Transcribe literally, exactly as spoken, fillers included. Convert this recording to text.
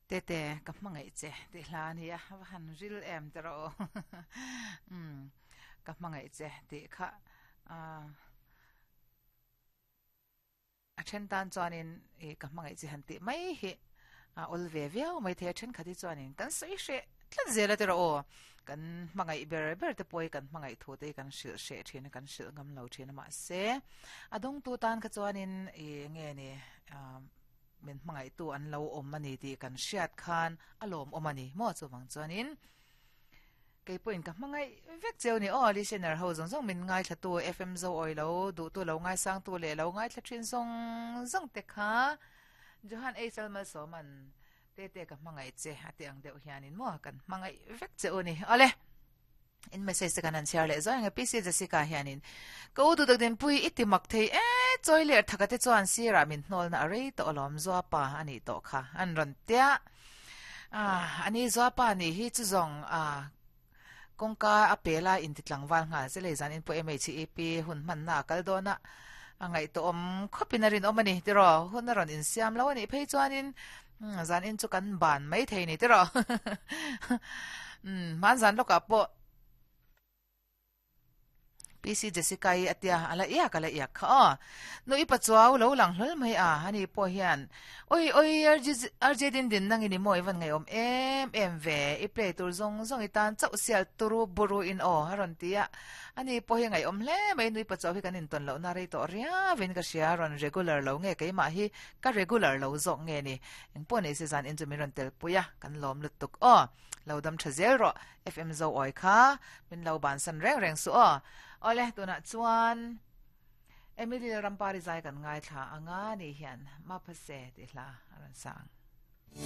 Tete ka hmangaih che tih hla a ni a, va han ril em te rawh aw. Umm ka hmangaih che tih kha ah a then tan chuanin ih ka hmangaih che han tih mai hi a awl ve viau mai thei a, thenkhat hi chuanin kan sawi hreh tlat zel a ti rawh aw. Kan hmangaih ber ber te pawh hi kan hmangaih thu te hi kan hrilh hreh thin a, kan hrilh ngam lo thin a mahse a dawngtu tan kha chuanin ih nge ni ah min hmangaihtu an lo awm a ni tih kan hriat khan a lawmawm a ni maw chuvang chuanin kei pawhin ka hmangaih vek cheu ni aw listener ho zawng zawng min ngaithlatu F M zo awi lo duhtu lo ngaisangtu leh lo ngaithla thin zawng zawng te kha Johan H L Malsawman Tete ka hmangaih che a ti ang deuh hianin maw kan hmangaih vek che u ni awle. In message te kan han chhiar leh zuai ang e P C Jessica hianin ka u duhtak dinpui i ti mak thei e chawi leh thaka te chuan sirah min hnawlna a rei tawh alawm Zuapa a nih tawh kha an rawn tia ah ani Zuapa nih hi chu zawng ah kawngka a pela inti tlangval nghal che lei zan in pawh M H E P hun hmanna a kal dawn a a ngaihtuahawm khawpin a rinawm a ni tiraw hun a rawn insiam lo a nih phei chuanin zan in chu kan ban mai thei ni tiraw umm hmanzan lawkah pawh P C Jessica i a tia a la iak a la iak kha aw. Nu i pachuau lo lang hlawl mai a, ani pawh hian Oi oi R J din din nang in i maw i van ngaihawm em em ve, i play tur zawng zawng i tan chauh sial turu buru in aw a rawn ti a, ani pawh hi ngaihawm hle mai nu i pachuau hi kan intawn lohna rei tawh riau in ka hria, rawn regular lo nge keimah hi ka regular lo zawk nge ni, engpawh nei se zan in chu min rawn tel pui a, kan lawm lutuk aw. Lo dam tha zel rawh F M zo awi kha min lo bansan reng reng suh aw. Awle tunah chuan Emily Lal Rampari zai kan ngaithla anga ni hian Maphase tih hla a rawn sa ang.